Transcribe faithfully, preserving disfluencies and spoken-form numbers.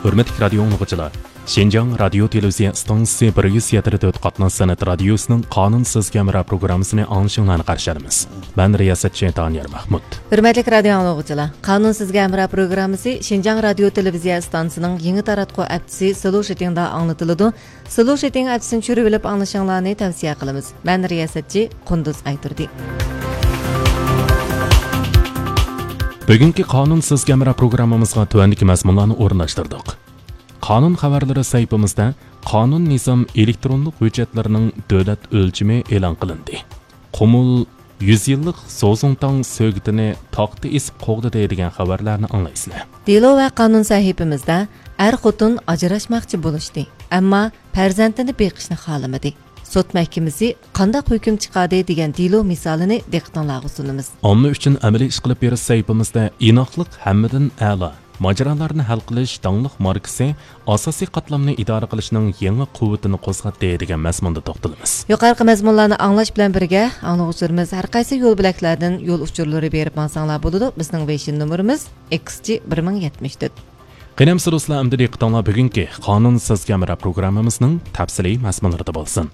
ھۆرمەتلىك رادىيو ئاڭلىغۇچىلار، شىنجاڭ رادىيو تېلېۋىزىيە ئىستانسىسى بىر يۈز يەتتە تۆت قاتناش سەنئەت رادىيوسىنىڭ قانۇن سىزگە ھەمراھ پروگراممىسىنى ئاڭلىشىڭلارنى قارشى ئالىمىز. مەن رىياسەتچى دانىيار مەھمۇت. ھۆرمەتلىك رادىيو ئاڭلىغۇچىلار، قانۇن سىزگە ھەمراھ پروگراممىسى شىنجاڭ رادىيو تېلېۋىزىيە ئىستانسىسىنىڭ يېڭى تاراتقۇ ئەپچىسى سلوشىتىڭدا ئاڭلىتىلىدۇ. سلوشىتىڭ ئەپچىسىنى چۈشۈرۈۋېلىپ ئاڭلىشىڭلارنى تەۋسىيە قىلىمىز. مەن رىياسەتچى قۇندۇز ئايتۇردى. بۈگۈنكى قانۇن سىزگە ھەمراھ پروگراممىمىزغا تۆۋەندىكى مەزمۇنلارنى ئورۇنلاشتۇردۇق. قانۇن خەۋەرلىرى سەھىپىمىزدە قانۇن نىزام ئېلېكترونلۇق ھۆججەتلىرىنىڭ دۆلەت ئۆلچىمى ئېلان قىلىندى. قۇمۇل يۈز يىللىق زوزۇڭتاڭ سۆگىتىنى تاختا ئېسىپ قوغدىدى دېگەن خەۋەرلەرنى ئاڭلايسىلەر. دېلو ۋە قانۇن سەھىپىمىزدە ئەر-خوتۇن ئاجراشماقچى بولۇشتى، ئەمما پەرزەنتىنى بېقىشنى خالىمىدى. سوت مەھكىمىسى قانداق ھۆكۈم چىقاردى دېگەن دېلو مىسالىنى دىققىتىڭلارغا سۇنىمىز. ئامما ئۈچۈن ئەمەلىي ئىش قىلىپ بېرىش سەھىپىمىزدە ئىناقلىق ھەممىدىن ئەلا، ماجىرالارنى ھەل قىلىش داڭلىق ماركىسى ئاساسىي قاتلامنى ئىدارە قىلىشنىڭ يېڭى قۇۋۋىتىنى قوزغاتتى دېگەن مەزمۇندا توختىلىمىز. يۇقىرىقى مەزمۇنلارنى ئاڭلاش بىلەن بىرگە، ئاڭلىغۇچىلىرىمىز ھەر قايسى يول بۆلەكلەردىن يول ئۇچۇرلىرى بېرىپ ماڭساڭلار بولىدۇ. بىزنىڭ ۋېيشىن نومۇرىمىز ئېكس جى بىر مىڭ يەتمىش تۆت. قېنى ئەمىسە دوستلار، ئەمدى دىققىتىڭلار بۈگۈنكى قانۇن سىزگە ھەمراھ پروگراممىمىزنىڭ تەپسىلىي مەزمۇنلىرىدا بولسۇن.